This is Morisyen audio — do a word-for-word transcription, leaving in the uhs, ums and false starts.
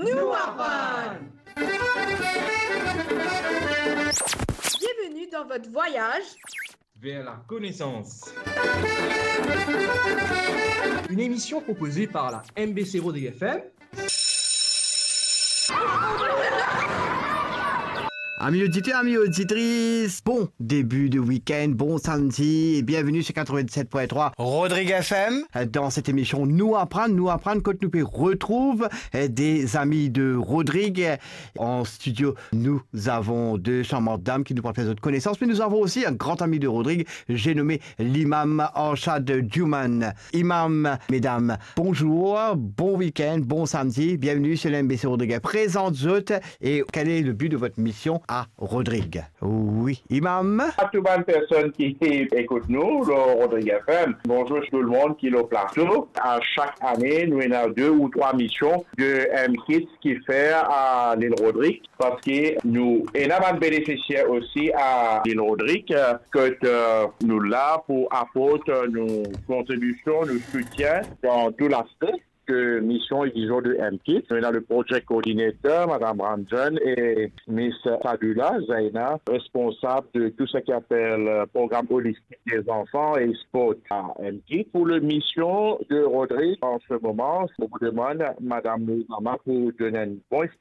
Nou aprann. Bienvenue dans votre voyage vers la connaissance. Une émission proposée par la M B C Rodrigues F M. Amis auditeurs, amis auditrices, bon début de week-end, bon samedi et bienvenue sur quatre-vingt-sept point trois Rodrigues F M. Dans cette émission Nou Aprann, Nou Aprann, kot nou pe retrouv, eh, des amis de Rodrigues. En studio, nous avons deux charmantes dames qui nous parlent de notre connaissance, mais nous avons aussi un grand ami de Rodrigues, j'ai nommé l'imam Arshad Djouman. Imam, mesdames, bonjour, bon week-end, bon samedi, bienvenue sur l'M B C Rodrigues. Présente zot et quel est le but de votre mission à Rodrigues ? Oui, imam. A tou bann personn ki ekout nou lor Rodrigues F M, bonzour tou lemonn ki lor plato. A sak ane, nou ena de ou trwa mision de M Kids ki fer a Lil Rodrig, parski nou ena bann benefisier osi a Lil Rodrig, eh, kot, eh, nou la pou aport, eh, nou kontribision, nou soutien dan tou laspe de mision e vizion de M Kids. Nou ena le project coordinator, Madam Ranjan, e Miss Sadula Zaina, responsab de tou seki apel, eh, program olistik de zanfan e spor a M Kids. Pour le mision de Rodrig, an se moman, nou demann Madam Nouzama pou donn enn bon